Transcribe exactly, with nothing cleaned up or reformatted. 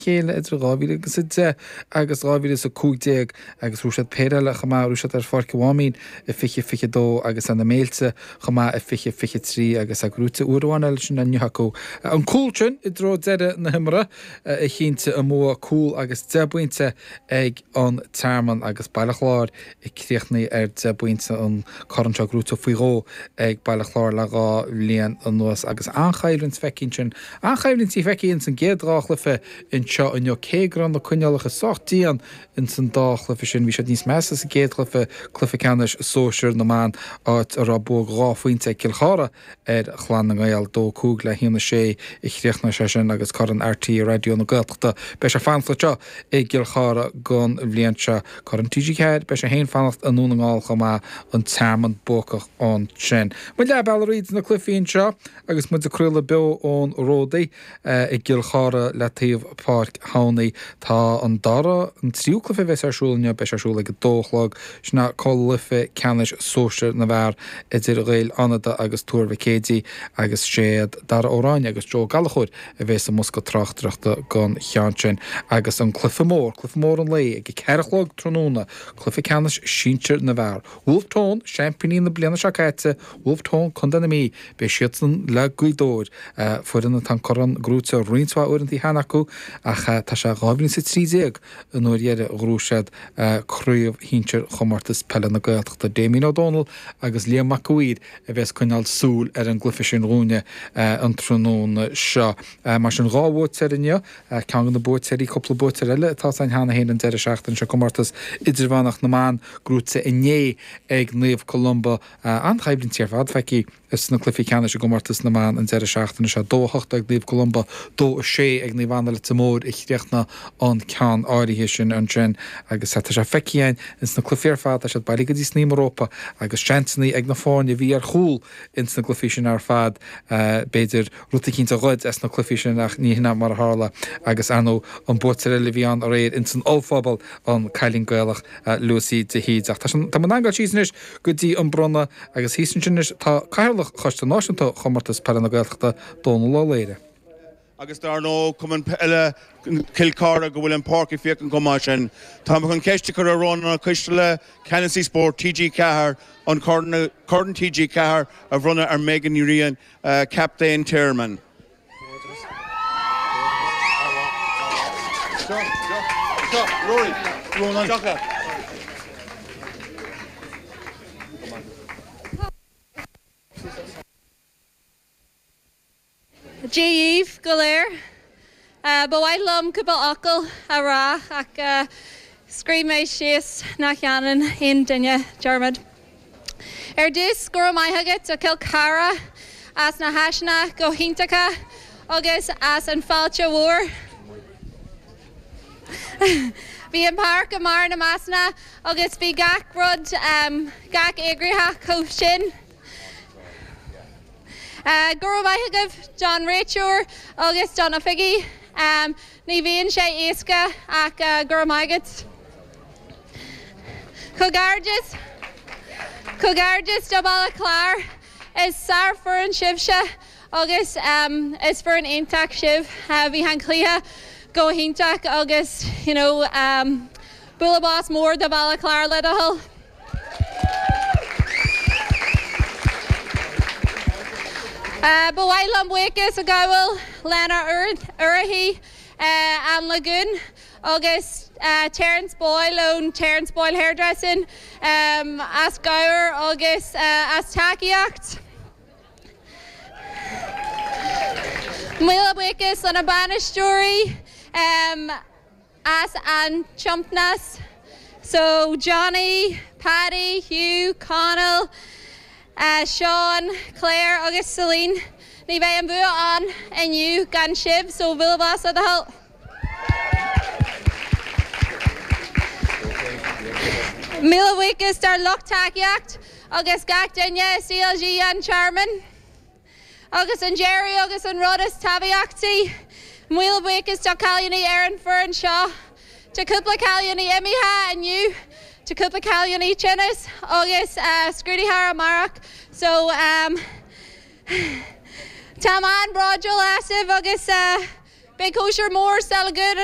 chéile idir dhá mhíle agus a deich agus dhá mhíle is a cúig déag agus bhuaigh siad péire eile chomh maith, bhuaigh siad ar Pháirc an Mháimín i fiche fiche dó agus ar na Méilte chomh maith i fiche fiche trí agus é gnóite uair amháin eile sin inniu acu. An cúl sin i dtreo deireadh na himeartha a chinntigh an bua, cúl agus deich bpointe ag an Tearmann agus Baile Chláir ag críochnú ar deich bpointe, an corn seo gnóite faoi dhó ag Baile Chláir le dhá bhliain anuas agus an-choimhlint feicthe ansin, an-choimhlint feicthe ins an gcéad dhá chluiche anseo inniu. Cé go raibh na coinníollacha sách dian ins an dá chluiche sin, bhí siad níos measa sa gcéad chluiche, cluiche ceannais sóisir na mban, áit a raibh bua dhá phointe ag Cill Chartha ar Chlann na nGael, dó cúig le haon a sé a chríochnaigh sé sin agus Corn RTÉ Raidió na Gaeltachta. Beidh sé ag fanacht anseo i gCill Chartha don bhliain seo. Corn T G ceathair, beidh sé féin ag fanacht i nDún na nGall chomh maith, an Tearmann buacach ansin. Muid leath bealaigh thríd na cluichí anseo agus muid ag craoladh beo ón Ródaí i gCill Chartha le taobh Páirc Thamhnaigh. Tá an dara, an tríú cluiche a bheas ar siúl inniu, beidh sé ar siúl ag a dó a chlog. Sin é cluiche ceannais sóisir na bhfear idir Ghaeil Fhánada agus Tuar Mhic Éadaigh agus séad Dara Ó Ráinne agus Joe Gallchóir a bheas i mbosca tráchtaireachta don cheann sin. Agus an cluiche mór, cluiche mór an lae ag a ceathair a chlog tráthnóna, cluiche ceannais sinsir na bhfear. Wolfe Tone, seaimpíní na bliana seo caite, Wolfe Tone, Contae na Mí, beidh siadsan le Gaoth Dobhair, foireann atá an corn gnóite roinnt mhaith uaireanta cheana acu ach tá sé dhá mhíle is a trí déag an uair dheiridh a ghnóthaigh siad craobh shinsir Chomórtas Peile na Gaeltachta. Damien Ó Dónaill agus Liam Mac a' Mhaoir a bheas ag coinneáil súil ar an gcluiche sin dhúinne an tráthnóna seo. Mar sin dhá bhuaiteoir inniu, ceann de na buaiteoirí, cúpla buaiteoir eile atá againn cheana féin an deireadh seachtaine seo, Comórtas Idirmheánach na mBan gnóite inné ag Naomh Columba. An-choimhlint ar fad feicthe sna cluichí ceannais i gcomórtas na mban an deireadh seachtaine seo. Dó a hocht ag Naomh Columba, dó a sé ag Naomh Anna Leitir Móir a chríochnaigh an ceann áirithe sin ansin agus tá sé feicthe againn ins na cluichí ar fad, tá siad bailithe go dtí sna rópa agus seansanna ag na foirne a bhí ar chúl ins na gcluichí sin ar fad, b'fhéidir rud eicínt a ghoid as na cluichí sin ach ní hin mar a tharla agus ar ndóigh an buaiteoir eile a bhí ann aréir ins an ollphuball, an cailín Gaelach Lucy de hÍde. Ach tá tá muid ag gabháil síos anois go dtí an bronnadh agus thíos ansin anois tá Cathaoirleach Choiste Náisiúnta Chomórtas Peile na Gaeltachta, Dónal Ó Laoire. Agus dar ndóigh Cumann Peile Chill Chartha go bhfuil an páirc ag féachaint chomh maith sin. Tá mé chun ceist a chur ar Rónán Ó Coisteala, Ceannasaí Spóirt T G Ceathair, an Corn Corn T G Ceathair a bhronnadh ar Megan Ní Riain, Captaen Tearmann. Dia dhaoibh go léir. Ba mhaith liom cúpla focal a rá ach scríobh mé síos nach ndéanann aon duine dearmad. Ar dtús, go raibh maith agat do Chill Chartha as na háiseanna go hiontacha agus as an fáilte mhór. Bhí an páirc i mbarr na measna agus bhí gach rud gach eagraithe chomh sin. Go raibh maith agaibh don réiteoir agus don oifigigh. Ní bhíonn sé éasca ach go raibh maith agat. Comhghairdeas Comhghairdeas do Bhaile Chláir is sárfhoireann sibhse agus is foireann iontach sibh. Bhí an cluiche go hiontach agus you know, um, bualadh bos mór do Bhaile Chláir le do thoil. Ba mhaith liom buíochas a ghabháil lenár urraithe an Lagoon agus Terence Boyle ón Terence Boyle Hairdressing as cabhair agus as tacaíocht. Míle buíochas lena bainisteoirí as an tiomantas. So Johnny, Paddy, Hugh, Connell, uh, Sean, Claire agus Celine. Ní bheadh an bua ann inniu gan sibh, so bualadh bos le do thoil. Míle buíochas dár lucht tacaíocht agus gach duine C L G an Tearmann. Agus an deireadh agus an rud is tábhachtaí, míle buíochas do cailíní ar an foireann seo. Tá cúpla cailíní imithe inniu, tá cúpla cailíní tinnis agus uh, scrúduithe amárach. So um, Tá an-bhródúil asaibh agus uh, Beidh cóisir mór sa Lagún